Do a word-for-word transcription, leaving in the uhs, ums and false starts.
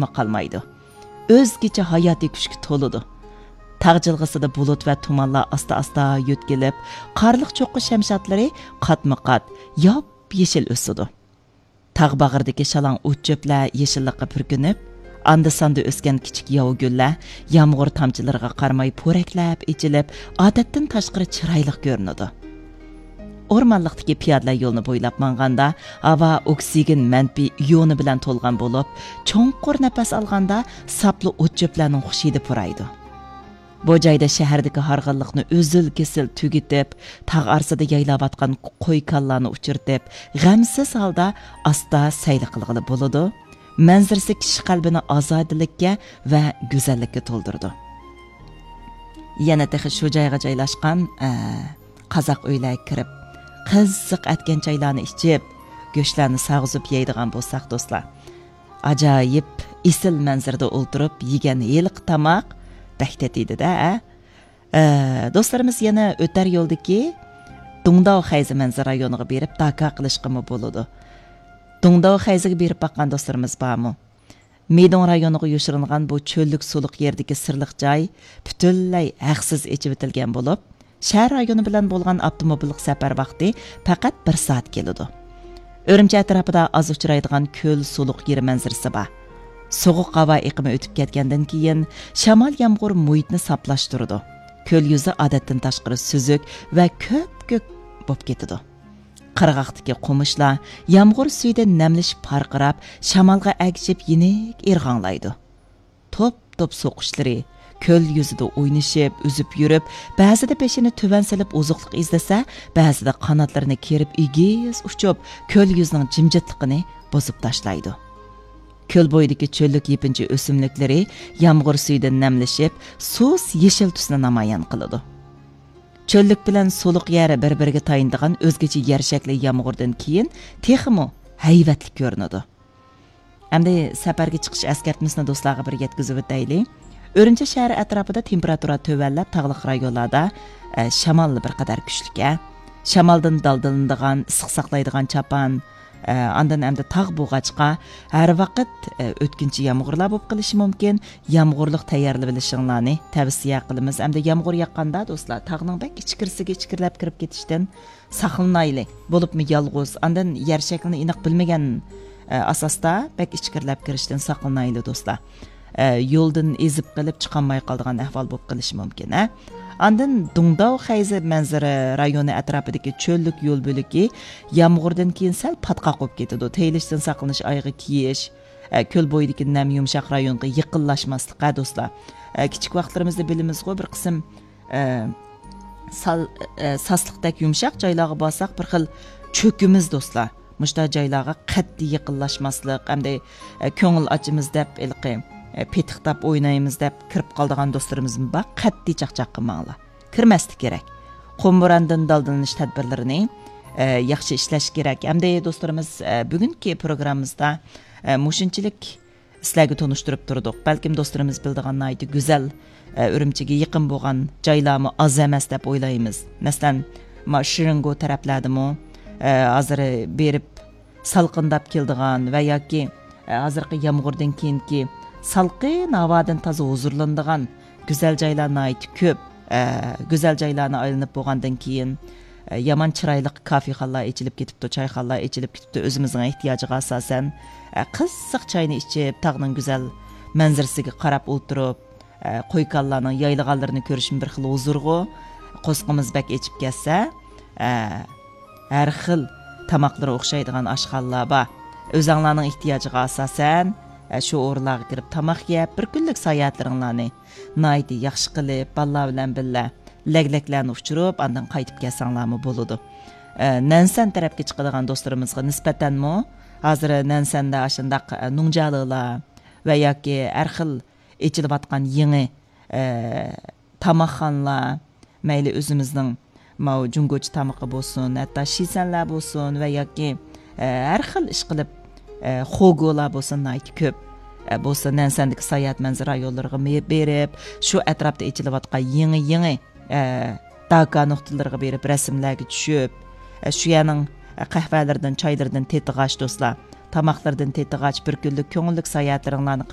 قالمايدۇ. ئۆزگىچە ھاياتىي كۈچكە تولىدۇ. تاغ جىلغىسىدا بۇلۇت ۋە تۇمانلار ئاستا-ئاستا يۆتكىلىپ، قارلىق چوققا شەمشادلىرى قاتمۇ قات، ياپيېشىل ئۆسىدۇ. تاغ باغرىدىكى شالاڭ ئوت چۆپلەر يېشىللىققا پۈركىنىپ، ئاندا-ساندا ئۆسكەن كىچىك ياۋا گۈللەر يامغۇر تامچىلىرىغا قارىماي پورەكلەپ ئېچىلىپ، ئادەتتىن تاشقىرى چىرايلىق كۆرۈنىدۇ. ئورمانلىقتىكى پىيادىلەر يولىنى بويلاپ ماڭغاندا، ھاۋا ئوكسىگېن مەنپىي ئىيونى بىلەن تولغان بولۇپ، چوڭقۇر نەپەس ئالغاندا، ساپلا ئوت چۆپلەرنىڭ خۇش ھىدى پۇرايدۇ. بۇ جايدا شەھەردىكى ھارغىنلىقنى ئۈزۈل-كېسىل تۈگىتىپ، تاغ ئارىسىدا يايلاۋاتقان قوي كالىلارنى ئۇچرىتىپ، غەمسىز ھالدا ئاستا سەيلە قىلغىلى بولىدۇ. مەنزىرىسى كىشى قەلبىنى ئازادىلىككە ۋە گۈزەللىككە تولدۇرىدۇ. يەنە تېخى شۇ جايغا جايلاشقان، ئە، قازاق ئۆيلەرگە كىرىپ، قىزىق ئەتكەن چايلارنى ئىچىپ، گۆشلەرنى ساغزۇپ يەيدىغان بولساق، دوستلار. ئاجايىپ ئېسىل مەنزىرىدە ئولتۇرۇپ يېگەن ھېلىقى تاماق بەك تېتىيدۇ-دە، ئە؟ ئە، دوستلىرىمىز يەنە ئۆتەر يولدىكى دۇڭداۋ خەيزى مەنزىرە رايونىغا بېرىپ داكا قىلىشقىمۇ بولىدۇ. دۇڭداۋ خەيزىگە بېرىپ باققان دوستلىرىمىز بارمۇ؟ مىدۇڭ رايونىغا يوشۇرۇنغان بۇ چۆللۈك سۇلۇق يەردىكى سىرلىق جاي پۈتۈنلەي ھەقسىز ئېچىۋېتىلگەن بولۇپ، شەھەر رايونى بىلەن بولغان ئاپتوموبىللىق سەپەر ۋاقتى پەقەت بىر سائەت كېلىدۇ. ئۈرۈمچى ئەتراپىدا ئاز ئۇچرايدىغان كۆل سۇلۇق يېرى مەنزىرىسى بار. سوغۇق ھاۋا ئېقىمى ئۆتۈپ كەتكەندىن كېيىن، شامال يامغۇر مۇھىتنى ساپلاشتۇرىدۇ. كۆل يۈزى ئادەتتىن تاشقىرى سۈزۈك ۋە كۆپكۆك بولۇپ كېتىدۇ. قىرغاقتىكى قومۇشلار يامغۇر سۈيىدە نەملىشىپ پارقىراپ، شامالغا ئەگىشىپ يېنىك ئىرغاڭلايدۇ. توپ-توپ سوقۇشلىرى كۆل يۈزىدە ئوينىشىپ، ئۈزۈپ يۈرۈپ، بەزىدە بېشىنى تۆۋەن سېلىپ ئوزۇقلۇق ئىزدىسە، بەزىدە قاناتلىرىنى كېرىپ ئېگىز ئۇچۇپ، كۆل يۈزىنىڭ جىمجىتلىقىنى بۇزۇپ تاشلايدۇ. كۆل بويىدىكى چۆللۈك يېپىنچا ئۆسۈملۈكلىرى يامغۇر سۈيىدە نەملىشىپ، سۇس يېشىل تۈسنى نامايان قىلىدۇ. چۆللۈك بىلەن سۇلۇق يەر بىر-بىرىگە تايىنىدىغان ئۆزگىچە يەر شەكلى يامغۇردىن كېيىن تېخىمۇ ھەيۋەتلىك كۆرۈنىدۇ. ئەمدى سەپەرگە چىقىش ئەسكەرتمىسىنى دوستلارغا بىر يەتكۈزۈۋېتەيلى. ئۈرۈمچى شەھىرى ئەتراپىدا تېمپېراتۇرا تۆۋەنلەپ، تاغلىق رايونلاردا، ئە، شامال بىر قەدەر كۈچلۈك، ئە. شامالدىن دالدىلىنىدىغان، ئىسسىق ساقلايدىغان چاپان، ئە، ئاندىن ئەمدى تاغ بولغاچقا، ھەر ۋاقىت، ئە، ئۆتكۈنچى يامغۇرلار بولۇپ قېلىشى مۇمكىن. يامغۇرلۇق تەييارلىۋېلىشىڭلارنى تەۋسىيە قىلىمىز. ئەمدى يامغۇر ياغقاندا، دوستلار، تاغنىڭ بەك ئىچكىرىسىگە ئىچكىرىلەپ كىرىپ كېتىشتىن ساقلىنايلى. بولۇپمۇ يالغۇز، ئاندىن يەر شەكلىنى ئېنىق بىلمىگەن، ئە، ئاساستا بەك ئىچكىرىلەپ كىرىشتىن ساقلىنايلى، دوستلار. ئە، يولدىن ئېزىپ قېلىپ چىقالماي قالىدىغان ئەھۋال بولۇپ قېلىشى مۇمكىن، ھە. ئاندىن دۇڭداۋ خەيزى مەنزىرە رايونى ئەتراپىدىكى چۆللۈك يول بۆلىكى يامغۇردىن كېيىن سەل پاتقاق بولۇپ كېتىدۇ. تېيىلىشتىن ساقلىنىش ئايىغى كىيىش، ئە، كۆل بويىدىكى نەم يۇمشاق رايونغا يېقىنلاشماسلىق، ھە، دوستلار. ئە، كىچىك ۋاقىتلىرىمىزدا بىلىمىزغۇ، بىر قىسىم، ئە، سال-، ئە، ساسلىقتەك يۇمشاق جايلارغا بارساق، بىر خىل چۆكىمىز، دوستلار. مۇشۇنداق جايلارغا قەتئىي يېقىنلاشماسلىق، ئەمدى، ئە، كۆڭۈل ئاچىمىز دەپ، ھېلىقى، ئە، پېتىقتاپ ئوينايمىز دەپ كىرىپ قالىدىغان دوستلىرىمىزمۇ بار. قەتئىي چاقچاق قىلماڭلار. كىرمەسلىك كېرەك. قۇم بوراندىن دالدىلىنىش تەدبىرلىرىنى، ئە، ياخشى ئىشلەش كېرەك. ئەمدى دوستلىرىمىز، ئە، بۈگۈنكى پروگراممىمىزدا، ئە، مۇشۇنچىلىك سىلەرگە تونۇشتۇرۇپ تۇردۇق. بەلكىم دوستلىرىمىز بىلىدىغان ناھايىتى گۈزەل، ئە، ئۈرۈمچىگە يېقىن بولغان جايلارمۇ ئاز ئەمەس دەپ ئويلايمىز. مەسىلەن، ما شىرىنگو تەرەپلەردىمۇ، ئە، ھازىر بېرىپ سالقىنداپ كېلىدىغان ۋە ياكى، ئە، ھازىرقى يامغۇردىن كېيىنكى سالقىن ھاۋادىن تازا ھۇزۇرلىنىدىغان گۈزەل جايلار ناھايىتى كۆپ. ئە، گۈزەل جايلارنى ئايلىنىپ بولغاندىن كېيىن، ئە، يامان چىرايلىق كافېخانىلار ئېچىلىپ كېتىپتۇ، چايخانىلار ئېچىلىپ كېتىپتۇ. ئۆزىمىزنىڭ ئېھتىياجىغا ئاساسەن، ئە، قىزىق چاينى ئىچىپ، تاغنىڭ گۈزەل مەنزىرىسىگە قاراپ ئولتۇرۇپ، ئە، قوي-كالىلارنىڭ يايلىغانلىرىنى كۆرۈشمۇ بىر خىل ھۇزۇرغۇ. قورسىقىمىز بەك ئېچىپ كەتسە، ئە، ھەر خىل تاماقلىرى ئوخشايدىغان ئاشخانىلار بار. ئۆزەڭلارنىڭ ئېھتىياجىغا ئاساسەن، ئە، شۇ ئورۇنلارغا كىرىپ تاماق يەپ، بىر كۈنلۈك ساياھەتلىرىڭلارنى ناھايىتى ياخشى قىلىپ، بالىلار بىلەن بىللە لەگلەكلەرنى ئۇچۇرۇپ، ئاندىن قايتىپ كەلسەڭلارمۇ بولىدۇ. ئە، نەنسەن تەرەپكە چىقىدىغان دوستلىرىمىزغا نىسبەتەنمۇ، ھازىر نەنسەندە ئاشۇنداق، ئە، نۇڭجالىلار ۋە ياكى ھەر خىل ئېچىلىۋاتقان يېڭى، ئە، تاماقخانىلار، مەيلى ئۆزىمىزنىڭ ماۋۇ جۇڭگوچە تامىقى بولسۇن، ھەتتا شىسەنلەر بولسۇن ۋە ياكى، ئە، ھەر خىل ئىشقىلىپ، ئە، خوگولار بولسۇن، ناھايىتى كۆپ. ئە، بولسا نەنسەندىكى ساياھەت مەنزىرە رايونلىرىغا مې-، بېرىپ، شۇ ئەتراپتا ئېچىلىۋاتقان يېڭى، يېڭى، ئە، داكا نۇقتىلىرىغا بېرىپ رەسىملەرگە چۈشۈپ، ئە، شۇ يەرنىڭ، ئە، قەھۋەلىرىدىن، چايلىرىدىن تېتىغاچ، دوستلار، تاماقلىرىدىن تېتىغاچ، بىر كۈنلۈك كۆڭۈللۈك ساياھەتلىرىڭلارنى قىپ